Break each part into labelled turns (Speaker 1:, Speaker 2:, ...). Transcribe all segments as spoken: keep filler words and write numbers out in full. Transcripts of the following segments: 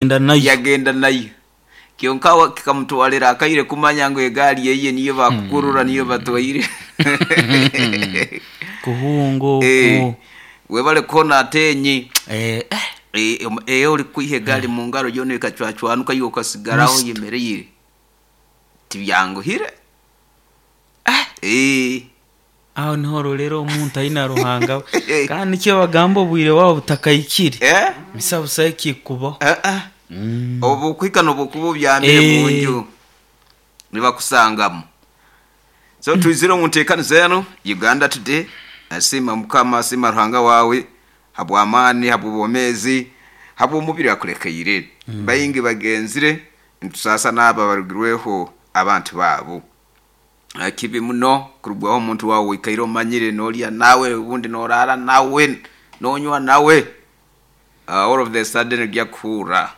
Speaker 1: Nayo.
Speaker 2: Yagenda nayo, kyonka wa- kikamutwalira akaire kumanya ngu egaari eye niyo bakukurura, niyo batwaire.
Speaker 1: Kuhunga.
Speaker 2: Eh,
Speaker 1: Okwo.
Speaker 2: Webale kuhona atenyi.
Speaker 1: Eh, eh,
Speaker 2: Eh, om- eyo oli kwiha egaari mu ngaro yoona ekacwacwanuka, iwe okasigaraho
Speaker 1: Mister.
Speaker 2: oyemereire, tibyanguhire. Eh,
Speaker 1: aho niho rorera omuntu aina Ruhanga we. Kandi nikyo bagamba, obwire bwabo butakahikire,
Speaker 2: eh,
Speaker 1: misa busa ekikubaho.
Speaker 2: eh, eh.
Speaker 1: Mm.
Speaker 2: Obu okuhika nobukuba obyamire
Speaker 1: Eh.
Speaker 2: munju nibakusangamu. So twizire omu nteekaniza eno Uganda Today. Asiima Mukama, asiima Ruhanga wawe habw'amaani, habw'obwomeezi, habw'omubiri akulekeire. Baingi bagenzire, nitusaasa n'abo abarugirweho abantu baabo. Ah, kibi muno kurugwaho omuntu wawe wikaire omanyire, nolya nawe, obundi noraara nawe, nonywa nawe. Ah, all of the sudden ojja kuhurra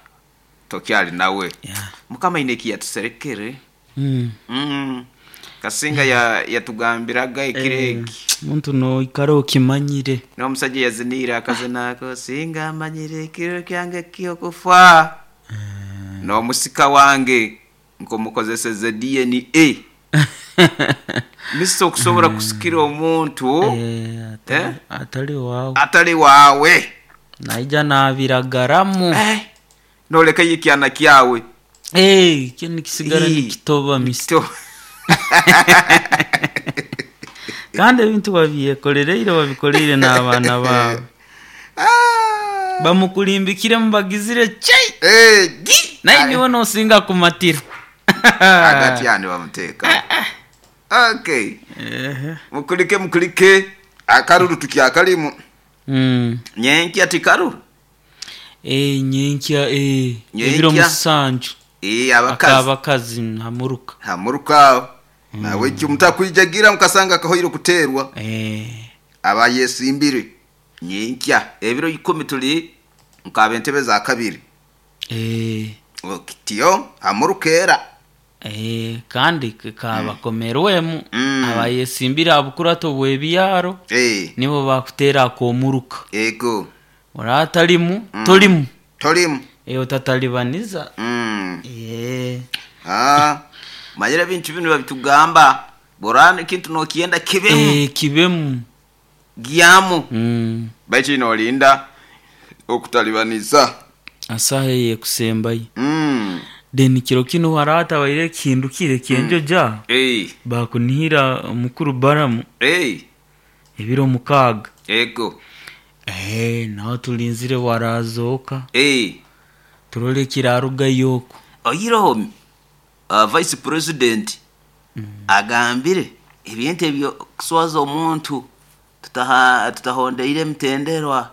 Speaker 2: tokyali nawe.
Speaker 1: Yeah.
Speaker 2: Mukama aine eki yatuserekere.
Speaker 1: Mm.
Speaker 2: mm. kasinga ya- yatugambiraga ekiro
Speaker 1: Eh,
Speaker 2: eki.
Speaker 1: Muntu noikara okimanyire.
Speaker 2: N'omusajja yaziniire akazina ako, "Singa amanyire ekiro kyange kyokufa, n'omusika wange nkomukozeseze D N A." Misa okusobola kusikira omuntu
Speaker 1: Eh, atali,
Speaker 2: Eh?
Speaker 1: atali wawe.
Speaker 2: Atali waawe.
Speaker 1: Naija nabiragaramu.
Speaker 2: Eh, nolekayo ekyana kyawe.
Speaker 1: Eh, kyo nikisigara
Speaker 2: Eh,
Speaker 1: nikitoba, misa.
Speaker 2: To-
Speaker 1: Kandi ebintu babyekolereire, babikoleire n'abaana baabo.
Speaker 2: Ah.
Speaker 1: Bamukulimbikire, mubagizire chai.
Speaker 2: Eh, gi.
Speaker 1: Naye niwe nosinga kumatira.
Speaker 2: Hagati yani bamuteeka, okay.
Speaker 1: Ehe.
Speaker 2: Mukulike, mukulike, akaruru tukyakalimu.
Speaker 1: Mm.
Speaker 2: Nyenkya tikaruru.
Speaker 1: Eh, nyenkya, eh,
Speaker 2: Nyenkya.
Speaker 1: ebiro musanju.
Speaker 2: Eh, abakazi.
Speaker 1: Akabakazi hamuruka.
Speaker 2: Hamuruka nawe ekyo mutakwijagira mukasanga akahoire kuteerwa.
Speaker 1: Eh,
Speaker 2: Abayesimbire nyenkya ebiro ikumi tuli nkaba entebe za kabiri.
Speaker 1: eh,
Speaker 2: Okityo hamurukeera.
Speaker 1: eh, kandi kabakomerwemu.
Speaker 2: Mm.
Speaker 1: Abayesimbire abukurato bw'ebyaro
Speaker 2: Eh,
Speaker 1: nibo bakutera akomuruka.
Speaker 2: Ego.
Speaker 1: Oratalimu tolimu.
Speaker 2: Tolimu.
Speaker 1: Eh, otatalibaniza.
Speaker 2: Mm.
Speaker 1: Eh,
Speaker 2: Ah, manyire ebintu binu babitugamba borana ekintu nokyenda kibemu.
Speaker 1: Eh, kibemu.
Speaker 2: Gyamu.
Speaker 1: Mm.
Speaker 2: Baitu nolinda okutalibaniza.
Speaker 1: Asaha eyekusembayo.
Speaker 2: mm.
Speaker 1: Then kiro kinu haratabaire ekihindukire kyenjoja.
Speaker 2: Eh,
Speaker 1: Bakunihira mukuru Baramu
Speaker 2: eh,
Speaker 1: ebiro mukaaga.
Speaker 2: Ego.
Speaker 1: Eh, naho tulinzire warazoka.
Speaker 2: Eh.
Speaker 1: Turole kirarugayo okwo.
Speaker 2: Oyireho uh, vice president agambire ebintu ebyo kuswaza omuntu tutaha- tutahondeire emitenderwa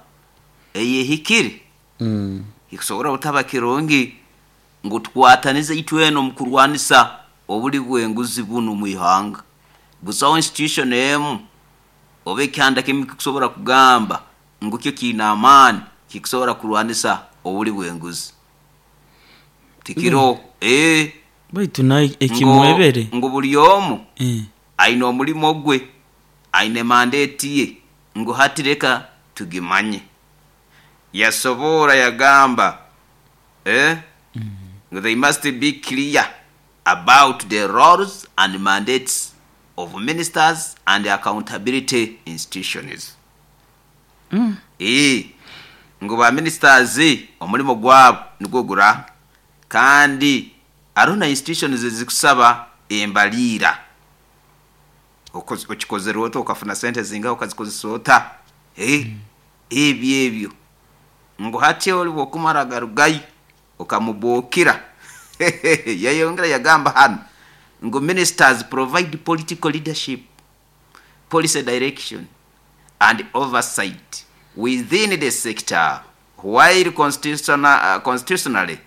Speaker 2: eyehikire.
Speaker 1: Mm.
Speaker 2: Kikusobora butaba kirungi ngu tukwatanize itwena omu kurwanisa obuli bwenguzi bunu mu ihanga. Busaho institution emu oba ekyanda kimu kikusobora kugamba ngu kyo kiine amaani kikusobora kurwanisa obuli bwenguzi, tikiro eh,
Speaker 1: Baitu naye
Speaker 2: ngo-
Speaker 1: ekimwebere.
Speaker 2: Ngu buli omu
Speaker 1: Eh.
Speaker 2: aine omulimo gwe, aine mandate ye, ngu hati leka tugimanye. Yasobora yagamba, eh? Ngu they must be clear about the roles and mandates of ministers and accountability institutions.
Speaker 1: Mm.
Speaker 2: Eh, ngu ba ministers omulimo gwabo nigwo gura, kandi hariho na institutions ezikusaba embaliira. Okoz- okikozere ota, okafuna sente zingahi, okazikozesa ota. Eh, ebyo ebyo ngu hati oli bwokumara garugayo okamubokira. Yayongera yagamba hano ngu ministers provide political leadership, policy direction and oversight within the sector, while constitutional, uh, constitutionally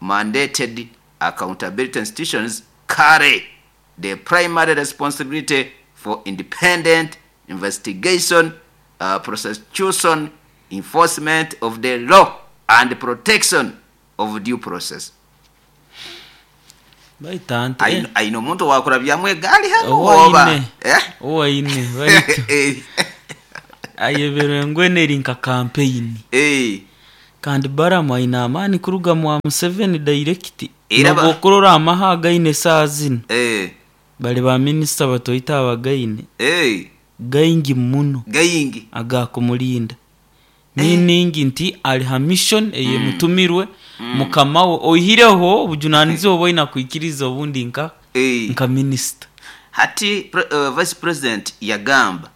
Speaker 2: mandated accountability institutions carry the primary responsibility for independent investigation, uh, prosecution, enforcement of the law and protection of due process.
Speaker 1: Baitu ante
Speaker 2: Aine aine omuntu owakurabyamu egaali hano oba
Speaker 1: owaine.
Speaker 2: Eh?
Speaker 1: Owaine, baitu
Speaker 2: Eh,
Speaker 1: ayeberwe ngweneri nka campaign.
Speaker 2: Eh,
Speaker 1: Kandi Baramu aine amaani kuruga mwa Museveni direct.
Speaker 2: Era ba-
Speaker 1: Nobu okurora amaha againe saa zinu,
Speaker 2: eh
Speaker 1: bali ba minisita batoita abagaine
Speaker 2: eh
Speaker 1: gaingi muno
Speaker 2: gayingi
Speaker 1: agakumulinda, meaning nti ali ha mission eyemutumirwe mukama we, oihireho obujunanizibwa bwaina kwikiriza obundi nka
Speaker 2: eh
Speaker 1: nka minisita.
Speaker 2: Hati pre, uh, vice president yagamba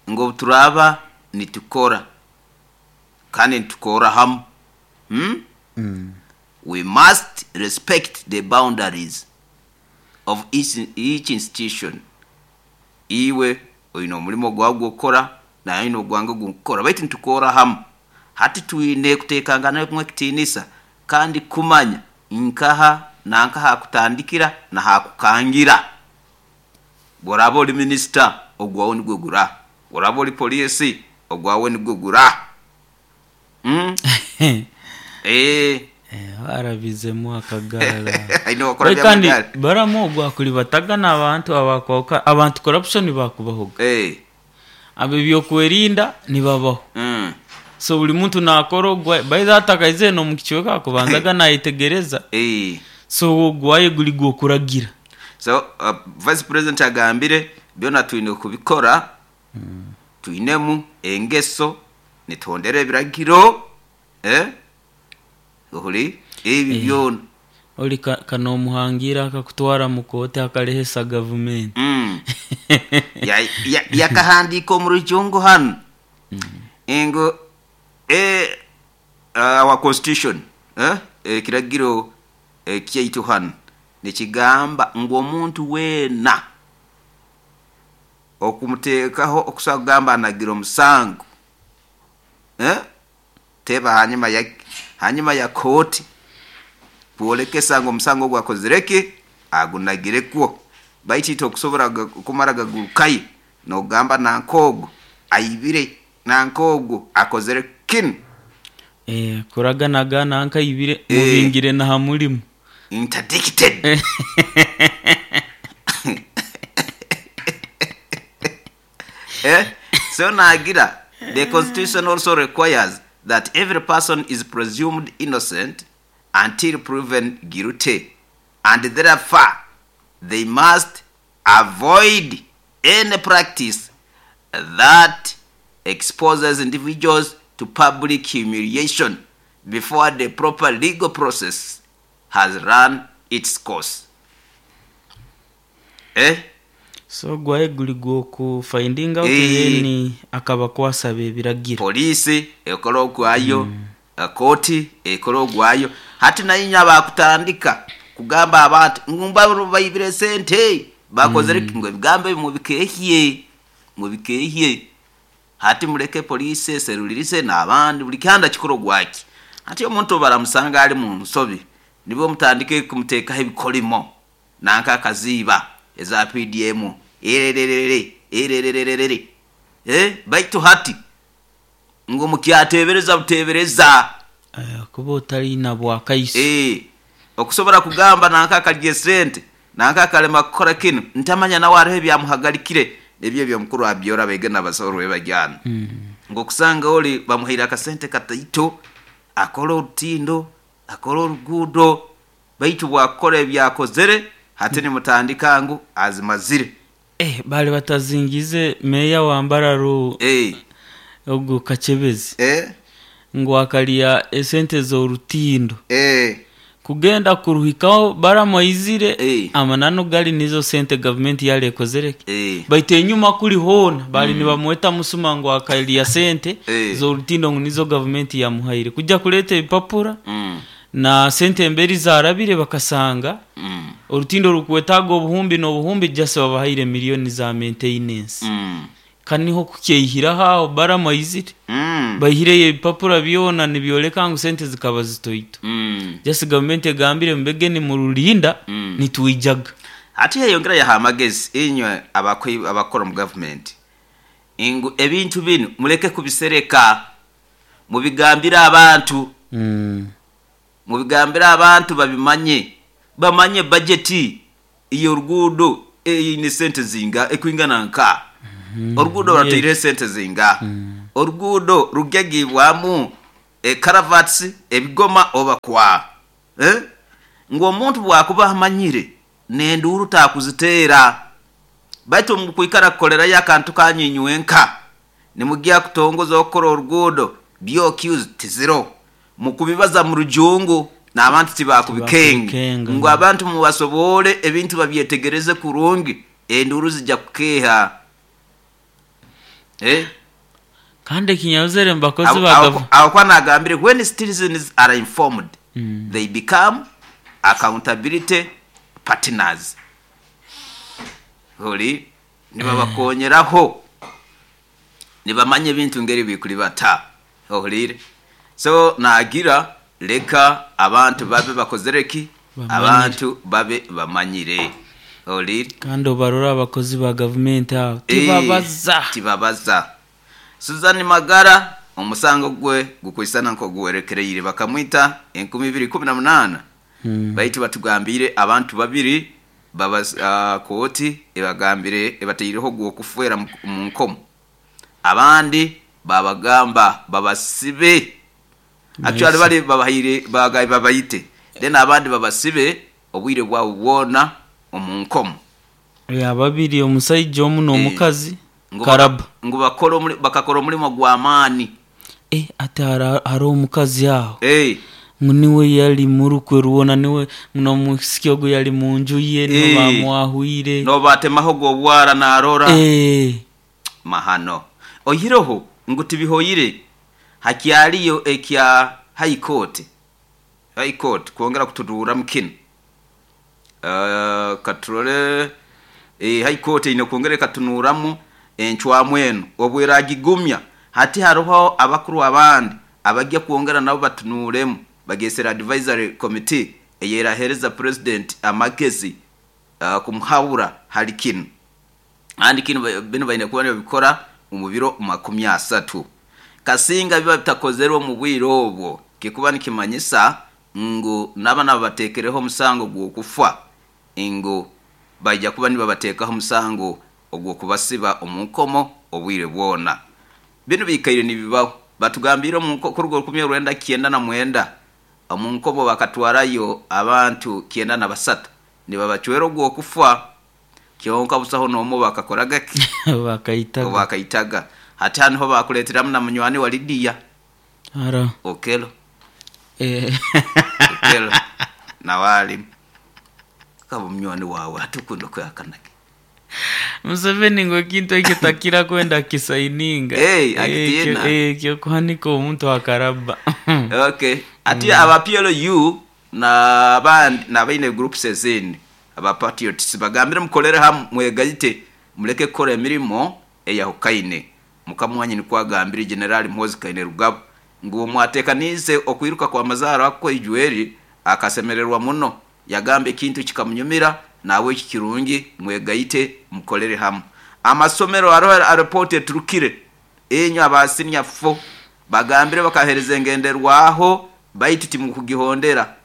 Speaker 2: ngo turaba nitukora kandi nitukora hamu, hmm? We must respect the boundaries of each, each institution. Iwe oyina omulimo gwawe gwokukora, naye oyina ogwange gwokukora, baitu nitukora hamu. Hati twine kutekangana kumwe ekitiinisa kandi kumanya nkaha nankaha hakutandikira nahakukangira. Bworaba oli minisita, ogwawe nigwe gura. Bworaba oli poliisi, ogwawe nigwe gura, mm? eh
Speaker 1: Barabizemu akagara.
Speaker 2: Aine wakora
Speaker 1: Baitu kandi
Speaker 2: by'amagara.
Speaker 1: Baramu ogwo akulibataga n'abantu abakwauka abantu corruption bakubahoga,
Speaker 2: eh
Speaker 1: abo ebyokwerinda nibabaho.
Speaker 2: mm.
Speaker 1: So buli muntu nakora ogwa baitha atakaize nomukichweka akubanzaga nayetegereza.
Speaker 2: eh
Speaker 1: So ogwaye guli gwokuragira.
Speaker 2: So uh, vice president agambire byona twine kubikora twinemu engeso, nitondera ebiragiro, eh ohuri ebi
Speaker 1: Eh.
Speaker 2: byona.
Speaker 1: Oli ka- kanomuhangira akakutwara mukooti akalehesa gavumenti.
Speaker 2: mm. ya, ya, yakahandika omu rujungu hanu ngu eh, our constitution, eh, ekiragiro eh, kyaitu hanu nikigamba ngu omuntu weena okumuteekaho okusobola kugamba anagira omusango, eh? Teba hanyuma ya hanyuma ya kooti kwolekesa ngu omusango ogwo akozireki agunagirekwo. Baitu itwe okusobola ga- kumara gagurukayo nogamba nankoogwo aibire, nankoogwo akozere kinu.
Speaker 1: Eh, kuraganaga nankaibire,
Speaker 2: Eh.
Speaker 1: mubingire na ha mulimu.
Speaker 2: Interdicted. eh? So nagira the constitution also requires that every person is presumed innocent until proven guilty, and therefore they must avoid any practice that exposes individuals to public humiliation before the proper legal process has run its course, eh?
Speaker 1: So gwaye guli gwoku finding out,
Speaker 2: Eh.
Speaker 1: then akabakwasaba ebiragiro.
Speaker 2: Poliisi ekola ogwayo, kooti ekola ogwayo. Hati nayinya bakutandika kugamba abantu ngumba baibire sente bakozere mm. Ngo ebigambo ebyo mubikehye, mubikehye. Hati muleke poliisi eserulirise n'abandi, buli kihanda kikola ogwaki. Hati omuntu baramusanga ali mu nsobi, nibwo mutandike kumuteekaho ebikolimo nanka akaziiba eza P D M erererere erererere, eh baitu hati ngo mukyatebereza butebereza.
Speaker 1: Eh, kuba otalina bwakaiso.
Speaker 2: Eh, okusobola kugamba nanka akalya esente, nanka akalema kukora kinu, ntamanya nawe hariho ebyamuhagarikire. Ebyo ebyomukuru abyora bege nabasoborwe bajyana
Speaker 1: Mm.
Speaker 2: ngokusanga oli bamuhaire akasente kataito akora orutindo, akora oruguudo, baitu bwakukora ebyakozere hati nimutandika ngu azimazire.
Speaker 1: Eh, bali batazingize meya wa Mbararo,
Speaker 2: eh,
Speaker 1: ogwo Kachebezi,
Speaker 2: eh,
Speaker 1: ngu akalya esente z'orutindo
Speaker 2: eh,
Speaker 1: kugenda kuruhikaho baramwaizire.
Speaker 2: Eh.
Speaker 1: Amananu gali nizo sente gavumenti yali ekozereke,
Speaker 2: eh.
Speaker 1: baitu enyuma kuli hoona bali nibamweta musuma ngu akalya sente
Speaker 2: Eh.
Speaker 1: z'orutindo, ngu nizo gavumenti yamuhaire kujja kuleeta ebipapura
Speaker 2: Mm,
Speaker 1: na sente emberi zarabire bakasanga
Speaker 2: mm,
Speaker 1: orutindo rukwetaaga obuhumbi n'obuhumbi, jasi babahaire miliyoni za maintenance.
Speaker 2: mm,
Speaker 1: Kaniho kukyehiraho aho baramwaizire,
Speaker 2: mm,
Speaker 1: baihireyo ebipapura byona nibyoleka ngu sente zikaba zitoito.
Speaker 2: mm.
Speaker 1: Jasi gavumenti egambire mubege nimurulinda,
Speaker 2: Mm.
Speaker 1: nitwijaga.
Speaker 2: Ate yayongera yaha amagezi inywe abakoi- abakora mu gavumenti ngu ebintu binu muleke kubisereka, mubigambire abantu,
Speaker 1: mm.
Speaker 2: mubigambire abantu babimanye, bamanye bajeti iyo oruguudo eine sente zinga ekwingana nka oruguudo
Speaker 1: Yeah.
Speaker 2: barataire sente zinga, oruguudo rugagibwamu. Ekaravats ebigoma oba kwa eh? Ngu omuntu bwakuba amanyire nenduuru takuziteera, baitu mukwikara kukolerayo akantu kanyinywenka nimugya kutongoza okukora oruguudo B O Qs tiziro mukubibaza mu rujungu n'abantu tibakubikenga
Speaker 1: Tibakubikenga.
Speaker 2: Ngu abantu mubasobole ebintu babyetegereze kurungi enduuru zijja kukeha eh?
Speaker 1: Kandi ekinyabuzere mubakozi
Speaker 2: Aho-
Speaker 1: ba
Speaker 2: aho-
Speaker 1: gavu-
Speaker 2: aho kwa nagambire when citizens are informed
Speaker 1: Mm.
Speaker 2: they become accountability partners. Holi nibabakonyeraho nibamanye ebintu ngeri bikuri bata oholire. So nagira leka abantu babe bakozereki
Speaker 1: Bamanyire.
Speaker 2: abantu babe bamanyire oholire.
Speaker 1: Kandi obarora abakozi ba gavumenti abo
Speaker 2: Eh,
Speaker 1: tibabaza
Speaker 2: tibabaza. Susan Magara omusango gwe gukwisana nko guwerekereire bakamwita enkumi ibiri kumi na munana.
Speaker 1: Mm.
Speaker 2: Baitu batugambire abantu babiri baba uh, kooti ebagambire ebateireho gwokufwera mu, mu nkomo, abandi babagamba babasibe. Actually bali babahaire bagaye babayite then abandi babasibe obwire bwabo bwona omu nkomo.
Speaker 1: Ya babiri omusajja omu n'omukazi
Speaker 2: Ngu
Speaker 1: Karaba.
Speaker 2: ngu bakora omuli-, bakakora omulimo gw'amaani.
Speaker 1: Eh, ate hara-, hariho omukazi aho.
Speaker 2: Eh.
Speaker 1: Ngu niwe yali murukwe ruwona, niwe n'omusiki ogwo yali mu nju ye, niwe
Speaker 2: Eh.
Speaker 1: bamwahwire.
Speaker 2: Nobatemaho gw'obwara n'arora.
Speaker 1: Eh.
Speaker 2: Mahano. Oyiroho ngu tibihoyire hakyaliyo ekya High Court. High Court kwongera kutuduura mukino. Uh, katurole eh, High Court ine kwongera katunuuramu encwamu eno obweragigumya. Hati hariho abakuru abandi abajya kwongera nabo batunuuremu bagesera advisory committee eyerahereza president amagezi, uh, kumuhabura hali kino. Andi kino ba-, bino baine kuba nibabikora mu biro makumi asatu. Kasinga biba bitakozerwe mu bwire obwo kikuba nikimanyisa ngu n'abana babateekereho omusango gw'okufa, ngu bajja kuba nibabateekaho omusango ogw'okubasiba omu nkomo obwire bwona. Bino bikaire nibibaho. Batugambire omu nko-, kuruga orukumi orwenda kyenda na mwenda omu nkomo bakatwarayo abantu kyenda na basatu nibabacwera ogw'okufa, kyonka busaho n'omu bakakoraga ki?
Speaker 1: Bakaitaga.
Speaker 2: Bakaitaga. Hati hano ho bakuleeteramu na munywani wa Lydia.
Speaker 1: Ara.
Speaker 2: Okelo.
Speaker 1: Eh.
Speaker 2: Okelo. Na wali. Kaba munywani wawe hatukunda kwehakanake.
Speaker 1: Museveni ngo kintu ekyo takira kwenda kisaininga.
Speaker 2: Hey,
Speaker 1: Eh,
Speaker 2: akitiina.
Speaker 1: kyo, eh, kyo kuhanika omuntu akaraba.
Speaker 2: Okay. Ati mm. aba P L U na bandi na baine groups ezindi aba patriots bagambire mukolere hamwe mwegayite muleke kukora emirimo eyahukaine. Mukamwanyi nikwagambire General Muhoozi Kainerugaba ngu mwatekanize okwiruka kwa mazaro akwo ijweri akasemererwa muno, yagambe ekintu kikamunyumira nawe kikirungi mwegayite mukolere hamwe. Amasomero aroho areporte turukire enyo abasinya fo bagambire bakahereza engenderwaho baitu timukugihondera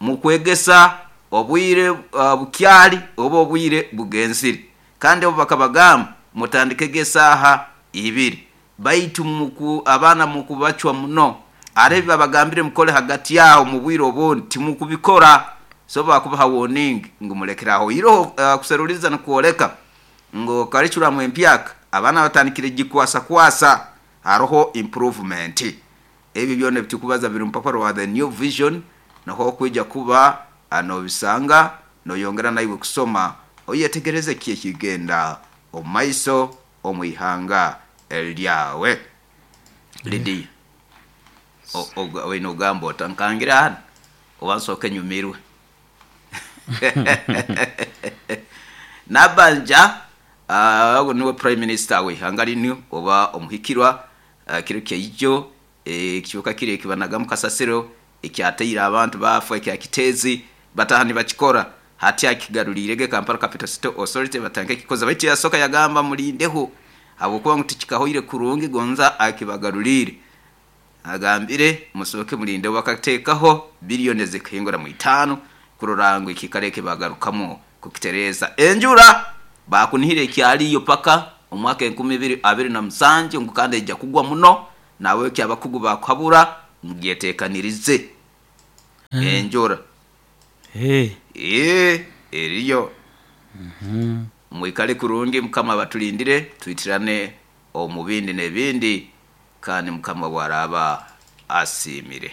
Speaker 2: mukwegesa obwire, uh, bukyali oba obwire bugenzire, kandi abo bakabagamba mutandike gesaha ibiri baitu muku, abana mukubacwa muno arebi babagambire mukole hagati yaho mu bwire obundi timukubikora. So bakubaha warning ngu mulekeraho iroho, uh, kuseruliza nkuoleka ngo curriculum empyaka abana batandikire gikwasa kwasa haroho improvement. Ebi byone bitukubaza biri mpapuro wa the new vision naho kwija kuba ano bisanga noyongera naiwe kusoma oyetegereze kiye kigenda omaiso omwihanga elyawe. Lydia, o-, o-, wino gambo otankangira hano owansoke nyumirwe. Nabanja, uh, niwe prime minister we hanga linu oba omuhikirwa, uh, kiro kyaijo, eh, kibuka kire kibanaga mu kasasiro ekyateira abantu bafa ekya kitezi batahani bakikora hati akigarulirege Kampala Capital City Authority batanke kikoza baitu yasoka yagamba mulindeho habwokuba ngu tikikahoire kurungi gonza akibagarulire agambire musoke mulinde bakateekaho biliyoni zikahingura mu itano kurorango ikikareke bagarukamo kukitereza enjura bakunihire ekyaliyo paka omwaka enkumi ibiri abiri na musanju ngu kandi ejja kugwa muno nawe kyabakugu bakuhabura Mugyetekanirize enjura.
Speaker 1: Eh,
Speaker 2: Ee, eriyo. Mwikale kurungi, Mukama batulindire, twitirane omu bindi n'ebindi, kandi Mukama bwaraba asiimire.